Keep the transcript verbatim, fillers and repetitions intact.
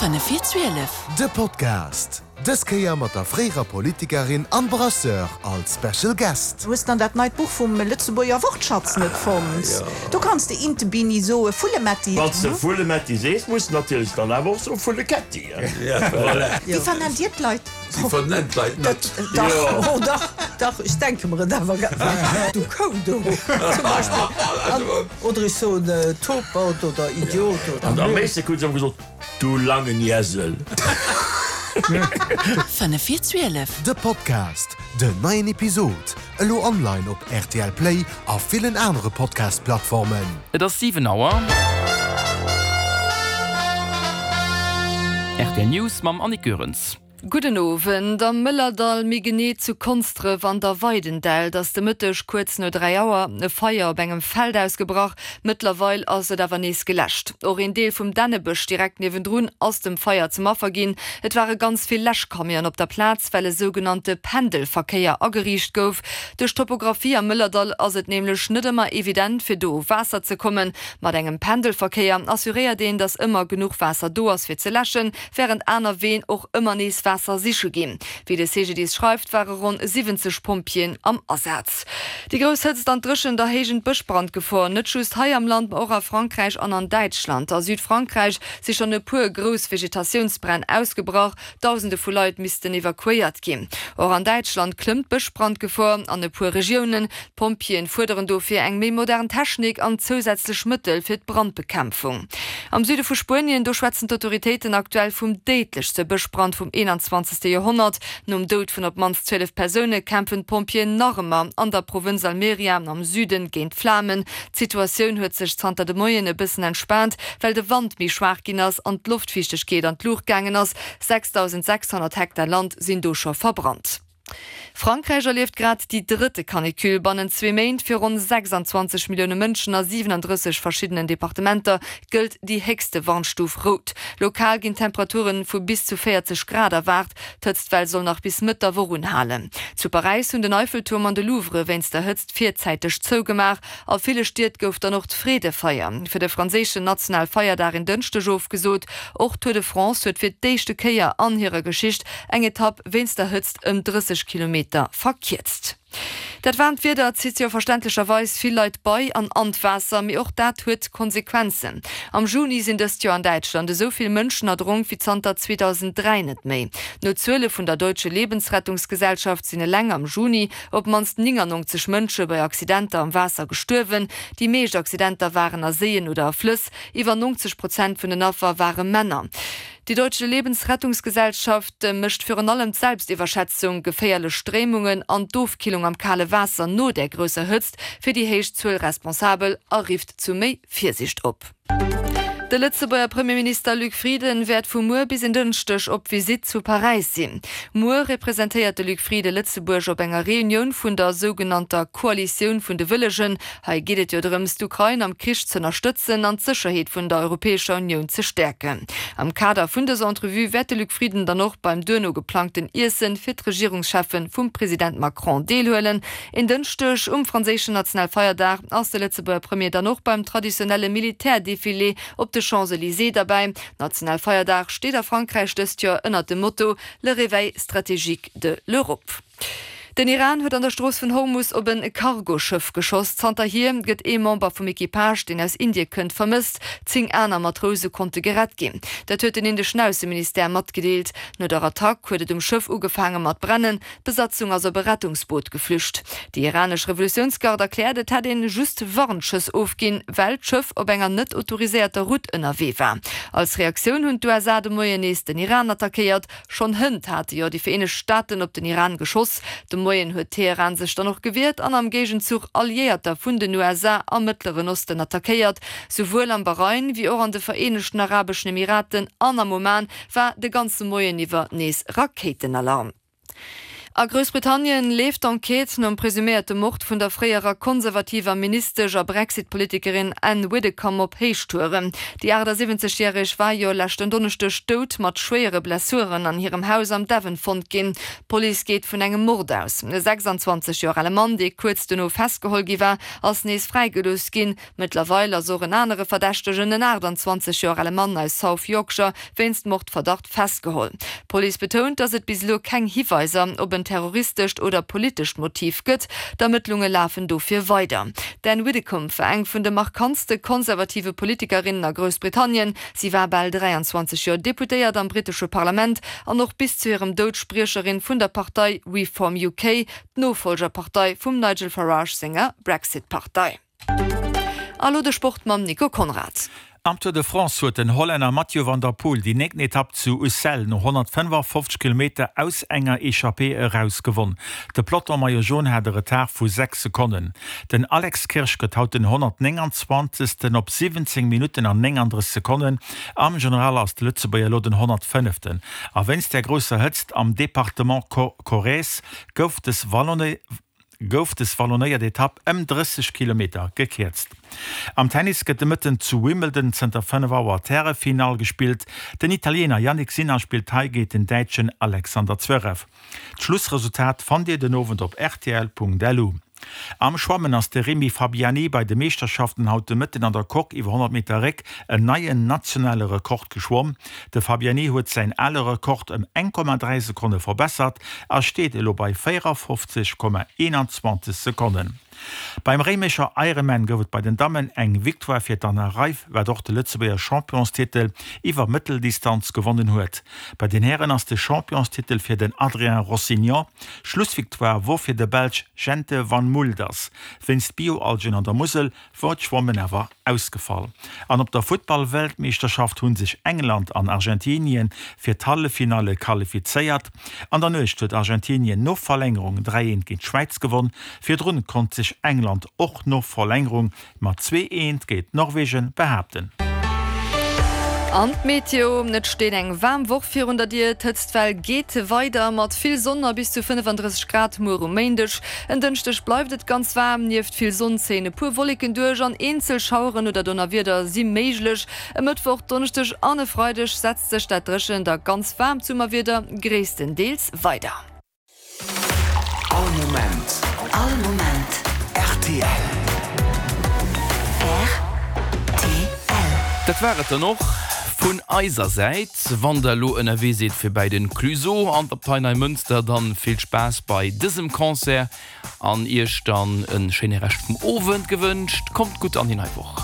Fënnef vir zwielef. De Podcast, dës Kéier mat der fréierer Politikerin an Brasseur als Special Guest. Hues dann dat neit Buch vum Lëtzebuerger Wortschatz net fonnt? Do kanns de Intebini soe, Vullemetti. Wann s de Vullemetti sees, muss de natierlech dann awer och soe Vulleketti. Wéi vernennt Dir d'Leit? Si vernennt d'Leit net. Dach, oh dach, dach, ech denke mer et awer. Du Kou do, zum Beispill. Oder ech soen Topert oder Idiot oder. An am meeschte krut se ëmmer gesot, Du langen Iesel. Fënnef vir zwielef. De Podcast, Den neien Episod elo online op R T L Play a villen anere Podcast-Plattformen. Et ass siwen Auer. Rtl News mam Annick Goerens. Gudden Owend. Am Mëllerdall, méi genee zu Konsdref an der Weidendält, ass de Mëtteg kuerz no dräi Auer e Feier op engem Feld ausgebrach. Mëttlerweil ass et awer nees geläscht. Och een Deel vum Dännebësch direkt niewendrun ass dem Feier zum Affer ginn. Et ware ganz vill Läschcamionen op der Plaz, well e sougenannte Pendelverkéier ageriicht gouf. Duerch d'Topographie am Mëllerdall ass et nämlech net ëmmer evident, fir do u Waasser ze kommen. Mat engem Pendelverkéier assuréiert een, datt ëmmer genuch Waasser do ass fir ze läschen, wärend aner Ween och ëmmer nees Waasser siche ginn. Wéi de C G D I S schreift, ware ronn siwwenzeg Pompjeeën am Asaz. Déi grouss Hëtzt an d'Dréchent erhéijen d'Bëschbrandgefor, net just hei am Land, ma och a Frankräich an an Däitschland. A Südfrankräich si schonn e puer grouss Vegetatiounsbränn ausgebrach, Dausende vu Leit missten evakuéiert ginn. Och an Däitschland klëmmt d'Bëschbrandgefor an e puer Regiounen. D'Pompjeeën fuerderen dofir eng méi modern Technik an zousätzlech Mëttel fir d'Brandbekämpfung. Am Süde vu Spuenien, do schwätzen d'Autoritéiten aktuell vum déidlechste Bëschbrand vum eenanzwanzegste Joerhonnert. Nom Doud vun op d'mannst zwielef Persoune kämpfen d'Pompjeeën nach ëmmer an der Provënz Almeria am Süden géint d'Flamen. D'Situatioun huet sech zanter de Moien e bëssen entspaant, well de Wand méi schwaach ginn ass an d'Loftfiichtegkeet an d'Luucht gaangen ass. sechsdausendsechshonnert Hektar Land sinn do scho verbrannt. Frankräich erlieft grad déi drëtte Canicule bannent zwee Méint. Fir ronn sechsanzwanzeg Millioune Mënschen a siwenandrësseg verschiddenen Departementer gëllt déi héchste Warnstuf rout. Lokal ginn Temperature vu bis zu véierzeg Grad erwaart. D'Hëtztwell soll nach bis Mëtt der Woch unhalen. Zu Paräis hunn den Eiffeltuerm an de Louvre wéinst der Hëtzt virzäiteg zougemaach. A ville Stied gouf dann och d'Freedefeier fir de franséischen Nationalfeierdag en Dënschdeg ofgesot. Och d'Tour de France huet fir d'éischte Kéier an hirer Geschicht eng Etapp wéinst der Hëtzt ëm drësseg Kilometer verkierzt. Dat waarmt Wieder zitt jo verständlecherweis vill Leit bei an an d'Waasser, mee och dat huet Konsequenzen. Am Juni sinn dëst Joer an Däitschland esou vill Mënschen erdronk wéi zanter zweedausend dräi net méi. No Zuele vun der Deutsche Lebensrettungsgesellschaft sinn eleng am Juni op d'mannst néngannonzeg Mënsche bei Accidenter am Waasser gestuerwen. Déi meescht Accidenter waren a Séien oder a Flëss. Iwwer neunzeg Prozent vun den Affer ware Männer. Die Deutsche Lebensrettungsgesellschaft mécht virun allem d'Selbstiwwerschätzung, geféierlech Stréimungen an d'Ofkillung am kale Waasser no der grousser Hëtzt fir déi héich Zuel responsabel a rifft zu méi Virsiicht op. De Lëtzebuerger Premierminister Luc Frieden wäert vu muer bis en Dënschdeg op Visitt zu Paräis sinn. Muer representéiert de Luc Frieden Lëtzebuerg op enger Reunioun vun der sougenannter Koalitioun vun de Wëllegen. Hei geet et jo drëms, d'Ukrain am Krich ze ënnerstëtzen an d'Sécherheet vun der Europäescher Unioun ze stäerken. Am Kader vun dëser Entrevue wäert de Luc Frieden dann och beim duerno geplangten Iessen fir d'Regierungscheffen vum President Macron deelhuelen. En Dënschdeg um franséischen Nationalfeierdag ass de Lëtzebuerger Premier dann och beim traditionelle Militärdefilé op de Champs-Élysées derbäi. Nationalfeierdag steet a Frankräich dëst Joer ënnert dem Motto Le réveil stratégique de l'Europe. Den Iran huet an der Strooss vun Hormus op en Cargoschëff geschoss. Zanterhier gëtt ee Member vum Equipage, deen aus Indie kënnt, vermësst. Zéng aner Matrouse konnte gerett ginn. Dat huet den indeschen Ausseministère matgedeelt. No der Attack huet et um Schëff ugefaange mat brennen. D'Besatzung ass op e Rettungsboot geflücht. Déi iranesch Revolutiounsgard erkläert, et hätt ee just Warnschëss ofginn, well d'Schëff op enger net autoriséierter Route ënnerwee war. Als Reaktioun hunn d'U S A de Moien nees den Iran attackéiert. Schonn hënt hate jo déi Vereenegt Staaten op den Iran geschoss. De Moien huet Teheran sech dann och gewiert an am Géigenzuch Alliéierter vun den U S A am Mëttleren Osten attackéiert. Souwuel am Bahrain wéi och an de Vereenegten Arabeschen Emiraten an am Oman war de ganze Moien iwwer nees Rakéitenalarm. A Groussbritannien leeft d'Enquête nom presuméierte Mord vun der fréierer konservativer Ministesch a Brexit-Politikerin Anne Widdecombe op Héichtouren. Déi achtasiwwenzeg järeg war jo leschten Donneschdeg dout mat schwéiere Blessuren an hirem Haus am Devon fonnt ginn. D'Police geet vun engem Mord aus. E sechsandzwanzeg Joer ale Mann, dee kuerz dono festgeholl gi war, ass nees fräigelooss ginn. Mëttlerweil ass och en anere Verdächtegen, en aachtanzwanzeg Joer ale Mann aus South Yorkshire, wéinst Mordverdacht festgeholl. D'Police betount, datt et bis elo keng Hiweiser op en terroristescht oder politescht Motiv gëtt. D'Ermëttlunge lafen dofir weider. D'Anne Widdecombe war eng vun de markantste konservative Politikerinnen a Groussbritannien. Si war bal dräianzwanzeg Joer Deputéiert am brittesche Parlament an och bis zu hirem Doud Spriecherin vun der Partei Reform U K, d'Nofollgerpartei vum Nigel Farage senger Brexit-Partei. A lo de Sport mam Nico Conrad. Am Tour de France huet den Hollänner Mathieu van der Poel déi néngten Etapp zu Ussel no honnertfënnefafofzeg Kilometer aus enger Echappée eraus gewonn. De Peloton Maillot Jaune hat e Retard vu sechs Sekonnen. Den Alex Kirsch gëtt haut den honnertnénganzwanzegsten op siwwenzéng Minutten an néngandrësseg Sekonnen. Am General ass de Lëtzebuerger elo den honnertfënneften. A wéinst der grousser Hëtzt am Departement Corrèze gouf des gouf des wallonéiert Etapp ëm drësseg Kilometer gekierzt. Am Tennis gëtt de Mëtten zu Wimbledon zënter fënnef Auer d'Härefinall gespillt. Den Italiener Jannik Sinner spillt hei géint den Däitschen Alexander Zverev. D'Schlussresultat fannt Dir den Owend op rtl.lu. Am Schwammen ass de Rémi Fabiani bei de Meeschterschaften haut de Mëtten an der Coque iwwer honnert Meter Réck en neien nationale Rekord geschwomm. De Fabiani huet säin ale Rekord ëm eng Komma dräi Sekonne verbessert a steet elo bei véierafofzeg Komma eenanzwanzeg Sekonnen. Beim Réimecher Ironman gouf et bei den Dammen eng Victoire fir d'Anna Reiff, wat och de Lëtzebuerger Championstitel iwwer Mëtteldistanz gewonnen huet. Bei den Hären ass de Championstitel fir den Adrien Rossignon. Schlussvictoire wor fir de Belsch Jente Van Mulders. Wéinst Bioalgen an der Musel wor d'Schwammen awer ausgefall. An op der Futtball-Weltmeeschterschaft hu sech England an Argentinien fir d'Halleffinalle qualifizéiert. An der Nuecht huet Argentinien no Verlängerung dräi eent géint d'Schwäiz gewonn. Virdrun konnt sech England och no Verlängerung mat zwee eent géint Norwegen behaapten. An d'Meteo, Et steet eng waarm Woch virun der Dier. D'Hëtztwell geet weider mat vill Sonn a bis zu fënnefandrësseg Grad muer um Méindeg. En Dënschdeg bleift et ganz waarm, nieft vill Sonn zéien e puer Wolleken duerch an eenzel Schaueren oder Donnerwieder si méiglech. E Mëttwoch, Donneschdeg an e Freideg setzt sech dat dréchent a ganz waarmt Summerwieder gréisstendeels weider. All Moment. All Moment. Rtl. Rtl. Dat war et dann och vun eiser Säit. Wann der elo ënnerwee sidd fir bei den Clueso an d'Abtei Neimënster, dann vill Spaass bei dësem Concert an iech dann en schéine Rescht vum Owend gewënscht. Kommt gutt an déi nei Woch.